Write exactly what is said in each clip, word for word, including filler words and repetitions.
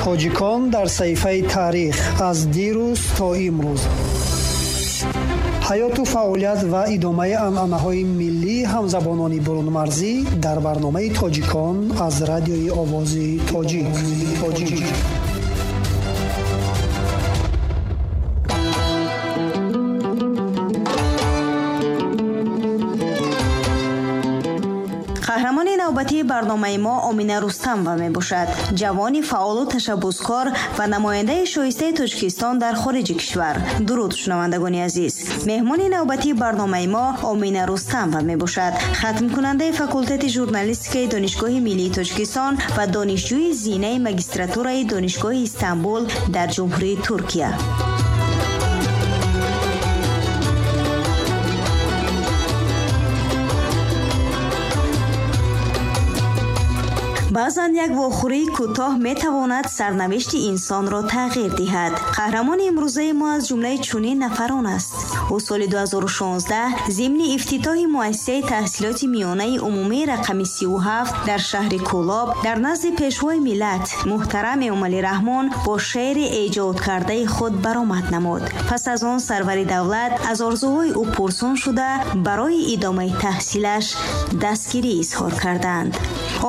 Тоҷикон дар саҳифаи таърих аз дирӯз то имрӯз. Ҳаёту фаъолият ва идомаи анъанаҳои миллии ҳамзабонони бурунмарзӣ дар барномаи Тоҷикон аз радиои Овози Тоҷик. Тоҷик. Қаҳрамони навбатии барномаи мо Омина Рустамова мебошад. Ҷавони фаъолу ташаббускор ва намояндаи шоистаи Тоҷикистон дар хориҷи кишвар. Дуруд, шунавандагони азиз. Меҳмони навбатии барномаи мо Омина Рустамова мебошад. Хатмкунандаи факултети журналистикаи Донишгоҳи миллии Тоҷикистон ва донишҷӯи зинаи магистратураи Донишгоҳи Истанбул дар Ҷумҳурии Туркия. Баъзан як вохӯрии кӯтоҳ метавонад сарнавишти инсонро тағйир диҳад. Қаҳрамони имрӯзаи мо аз ҷумлаи чунин нафарон аст. Ӯ соли ду ҳазору шонздаҳ зимни ифтитоҳи муассисаи таҳсилоти миёнаи умумии рақами сию ҳафт дар шаҳри Кӯлоб дар назди пешвои миллат муҳтарам Эмомалӣ Раҳмон бо шеъри эҷодкардаи худ баромад намуд. Пас аз он сарвари давлат аз орзуҳои ӯ пурсон шуда барои идомаи таҳсилаш дастгирӣ изҳор карданд.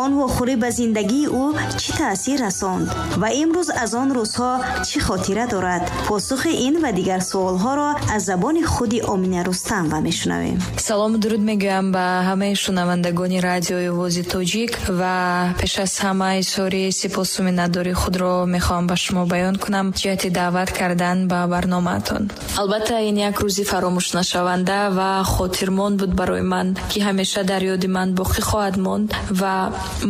Он вохӯрӣ ба зиндагии ӯ чӣ таъсир расонд ва имрӯз аз он рӯзҳо чӣ хотира дорад? Посухи ин ва дигар суолҳоро аз забони худи Омина Рустамова мешунавем. Салому дуруд мегӯям ба ҳамаи шунавандагони радиои Овози Тоҷик ва пеш аз ҳама изҳори сипосу миннатдории худро мехоҳам ба шумо баён кунам ҷиҳати даъват кардан ба барномаатон. Албатта ин як рӯзи фаромӯшнашаванда ва хотирмон буд барои ман, ки ҳамеша дар ёди ман боқӣ хоҳад монд ва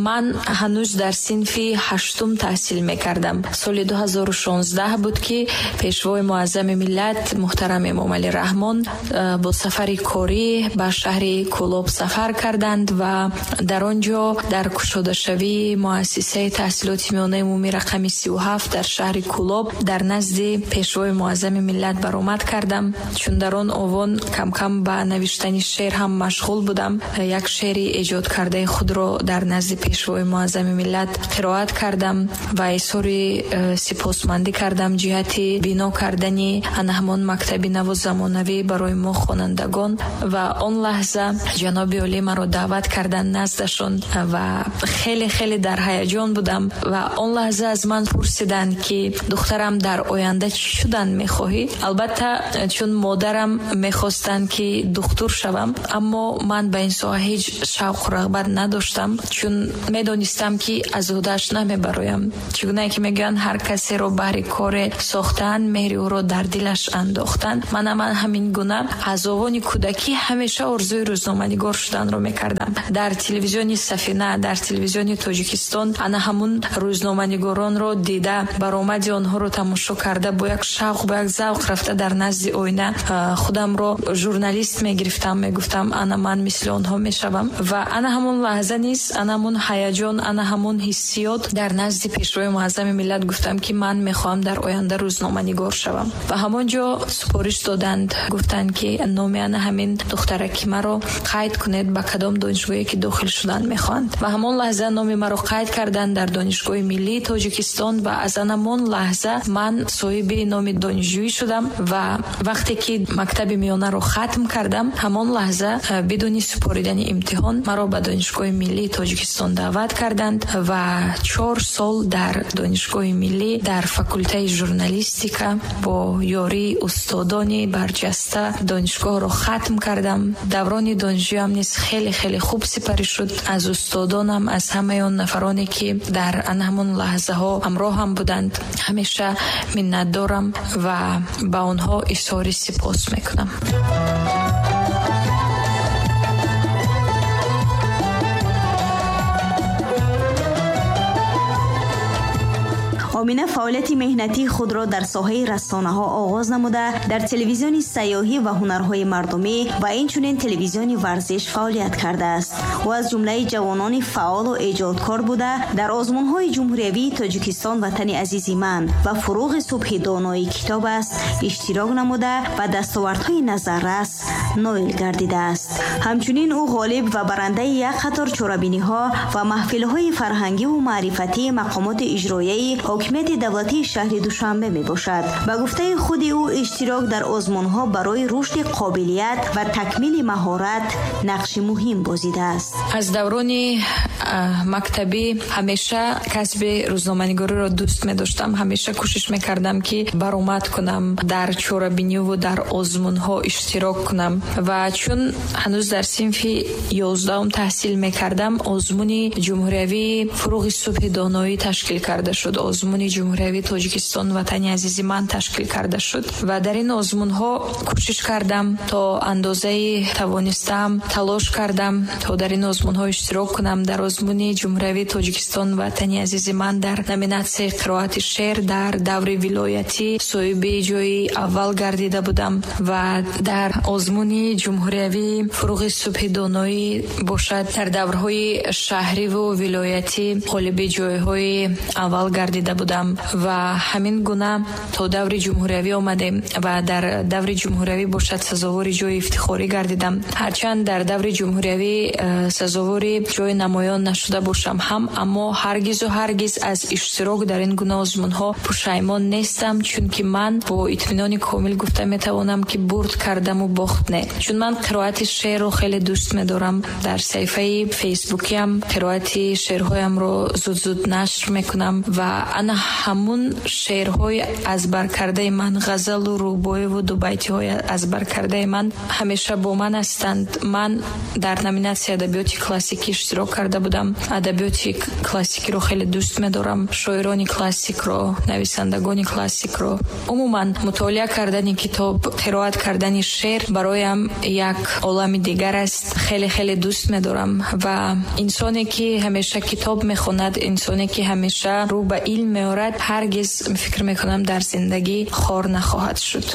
ман ҳанӯз дар синфи ҳаштум таҳсил мекардам. Соли ду ҳазору шонздаҳ буд, ки пешвои муаззами миллат муҳтарам Эмомалӣ Раҳмон бо сафари корӣ ба шаҳри Кӯлоб сафар карданд ва дар он ҷо дар кушодашавии муассисаи таҳсилоти миёнаи умумии рақами сию ҳафт дар шаҳри Кӯлоб дар назди пешвои муаззами миллат баромад кардам. Чун дар он овон камкам ба навиштани шеър ҳам машғул будам, як шеъри эҷодкардаи худро дар назди пешвои муаззами миллат қироат кардам ва изҳори сипосмандӣ кардам ҷиҳати бино кардани ана ҳамон мактаби наву замонавӣ барои мо хонандагон. Ва он лаҳза ҷаноби олӣ маро даъват карданд наздашон ва хеле хеле дар ҳаяҷон будам ва он лаҳза аз ман пурсиданд, ки духтарам, дар оянда чӣ шудан мехоҳӣ? Албатта чун модарам мехостанд, ки духтур шавам, аммо ман ба ин соҳа ҳеҷ шавқу рағбат надоштам, чун медонистам, ки аз ӯҳдааш намебароям. Чӣ гунае ки мегӯянд, ҳар касеро баҳри коре сохтаанд, меҳри ӯро дар дилаш андохтанд. Манам ҳамин гуна аз овони кӯдакӣ ҳамеша орзуи рӯзноманигор шуданро мекардам. Дар телевизиони Сафина, дар телевизиони Тоҷикистон ана ҳамун рӯзноманигоронро дида, баромади онҳоро тамошо карда, бо як шавқ, бо як завқ рафта дар назди оина худамро журналист мегирифтам, мегуфтам ана ман мисли онҳо мешавам. Ва ана ҳамон лаҳза низ, ана ҳамон ҳаяҷон, ана ҳамон ҳиссиёт дар назди пешвои муаззами миллат гуфтам, ки ман мехоҳам дар оянда рӯзноманигор шавам. Ва ҳамон ҷо супориш доданд, гуфтанд, ки номи ана ҳамин духтараки маро қайд кунед, ба кадом донишгоҳе ки дохил шудан мехоҳанд. Ва ҳамон лаҳза номи маро қайд карданд дар Донишгоҳи миллии Тоҷикистон ва аз ана ҳамон лаҳза ман соҳиби номи донишҷӯӣ шудам. Ва вақте ки мактаби миёнаро хатм кардам, ҳамон лаҳза бидуни супоридани имтиҳон маро ба Донишгоҳи миллии Тоҷикистон даъват карданд ва чор сол дар Донишгоҳи миллӣ дар факултаи журналистика бо ёрии устодони барҷаста донишгоҳро хатм кардам. Даврони донишҷӯям низ хеле хеле хуб сипарӣ шуд. Аз устодонам, аз ҳамаи он нафароне, ки дар ана ҳамон лаҳзаҳо ҳамроҳам буданд, ҳамеша миннатдорам ва ба онҳо изҳори сипос мекунам. Омина фаъолияти меҳнатии худро дар соҳаи расонаҳо оғоз намуда, дар телевизиони сайёҳӣ ва ҳунарҳои мардумӣ ва инчунин телевизиони варзиш фаъолият кардааст. Ӯ аз ҷумлаи ҷавонони фаъолу эҷодкор буда, дар озмунҳои ҷумҳуриявии Тоҷикистон «Ватани азизи ман» ва «Фуруғи субҳи донои китоб аст» иштирок намуда ба дастовардҳои назаррас ноил гардидааст. Ҳамчунин ӯ ғолиб ва барандаи як қатор чорабиниҳо ва маҳфилҳои фарҳангиву маърифатии мақомоти иҷроияи Ҳокимияти давлатии шаҳри Душанбе мебошад. Ба гуфтаи худи ӯ, иштирок дар озмунҳо барои рушди қобилият ва такмили маҳорат нақши муҳим бозидааст. Аз даврони мактабӣ ҳамеша касби рӯзноманигориро дӯст медоштам. Ҳамеша кӯшиш мекардам, ки баромад кунам, дар чорабиниву дар озмунҳо иштирок кунам. Ва чун ҳанӯз дар синфи ёздаҳум таҳсил мекардам, озмуни ҷумҳуриявии «Фурӯғи субҳи доноӣ» ташкил карда шуд, озмуни ҷумҳуриявии «Тоҷикистон, ватани азизи ман» ташкил карда шуд ва дар ин озмунҳо кӯшиш кардам, то андозаи тавонистаам талош кардам, то дар ин озмунҳо иштирок кунам. Дар озмуни ҷумҳуриявии «Тоҷикистон, ватани азизи ман» дар номинатсияи қироати шеър дар даври вилоятӣ соҳиби ҷои аввал гардида будам ва дар озмуни ҷумҳуриявии «Фурӯғи субҳи доноӣ» бошад, дар даврҳои шаҳриву вилоятӣ ғолиби ҷойҳои аввал гардида будам. Ва ҳамин гуна то даври ҷумҳуриявӣ омадем ва дар даври ҷумҳуриявӣ бошад, сазовори ҷои ифтихорӣ гардидам. Ҳарчанд дар даври ҷумҳуриявӣ э, сазовори ҷои намоён нашуда бошам ҳам, аммо ҳаргизу ҳаргиз аз иштирок дар ин гуна озмунҳо пушаймон нестам, чунки ман бо итминони комил гуфта метавонам, ки бурд кардаму бохт не, чун ман қироати шеърро хеле дӯст медорам. Дар саҳифаи фейсбукиам қироати шеърҳоямро зуд-зуд нашр мекунам ва ана ҳамун шеърҳои аз баркардаи ман, ғазалу рубоиву дубайтиҳои аз баркардаи ман ҳамеша бо ман ҳастанд. Ман дар номинатсияи адабиёти классикӣ иштирок карда будам. Адабиёти классикиро хеле дӯст медорам, шоирони классикро, нависандагони классикро. Умуман, мутолиа кардани китоб, қироат кардани шеър бароям як олами дигар аст. Хеле хеле дӯст медорам ва инсоне, ки ҳамеша китоб мехонад, инсоне, ки ҳамеша рӯ ба илм меорад, ҳаргиз, фикр мекунам, дар зиндагӣ хор нахоҳад шуд.